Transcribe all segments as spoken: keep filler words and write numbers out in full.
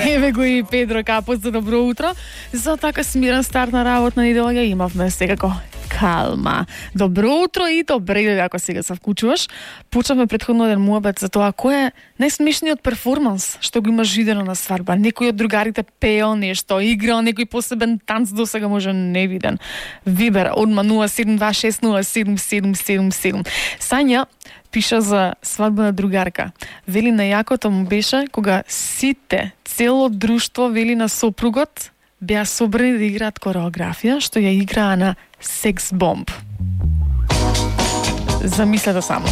Еве го и Педро Капот за добро утро. За така смирен старт на работна недела ја имавме секако калма. Добро утро и добре ден ако сега се вклучуваш. Почнавме претходно еден муабет за тоа кој е најсмешниот перформанс што го имаш видено на свадба. Некој од другарите пеел нешто, играл некој посебен танц досега може невиден. Вибер одма нула седум два шест нула седум седум седум седум. Сања пиша за свадба на другарка. Вели најакото му беше кога сите, цело друштво вели на сопругот беа собрани да играат кореографија што ја играа на Секс бомб. Замислете само.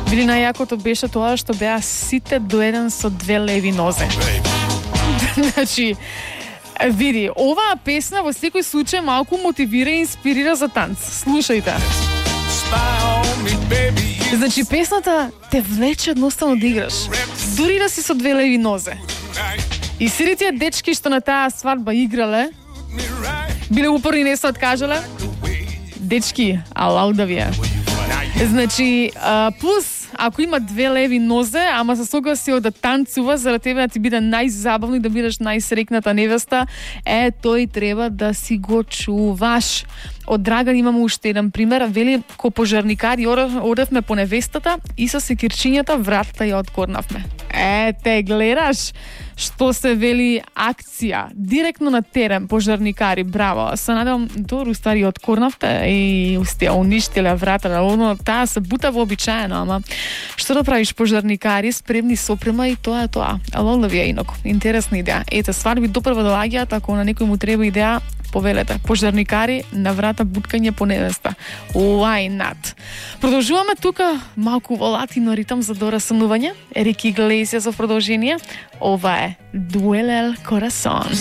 Вели најакото беше тоа што беа сите до еден со две леви нозе. Значи, види, оваа песна во секој случај малку мотивира и инспирира за танц. Слушајте. Значи, песната те влече едноставно да играш. Дури да си со две леви нозе. И сите тие дечки што на таа свадба играле, биле упорни, не се откажале. Дечки, алау да ви е. Значи, а, плюс, ако има две леви нозе, ама се согласил да танцува за да тебе да ти биде најзабавно и да бидеш најсрекната невеста, е, тој треба да си го чуваш. Од Драган имаме уште еден пример. Вели, ко пожарникари одевме по невестата и со секирчињата вратата ја откорнавме. Е, те гледаш што се вели акција. Директно на терен, пожарникари, браво. Се надевам, добро ствари откорнавте и устија уништиле вратата. Оно, таа се бута вообичаено, ама што да правиш, пожарникари, спремни сопрема и тоа е тоа. Ало да ви е инако. Интересна идеја. Ете, свадби допрва доаѓаат, ако на некој му треба идеја, повелете. Пожарникари на врата буткање по невеста. Why not? Продолжуваме тука малку во латино ритам за дорасанување. Ерик Иглесиас за продолжение. Ова е Duele el Corazón.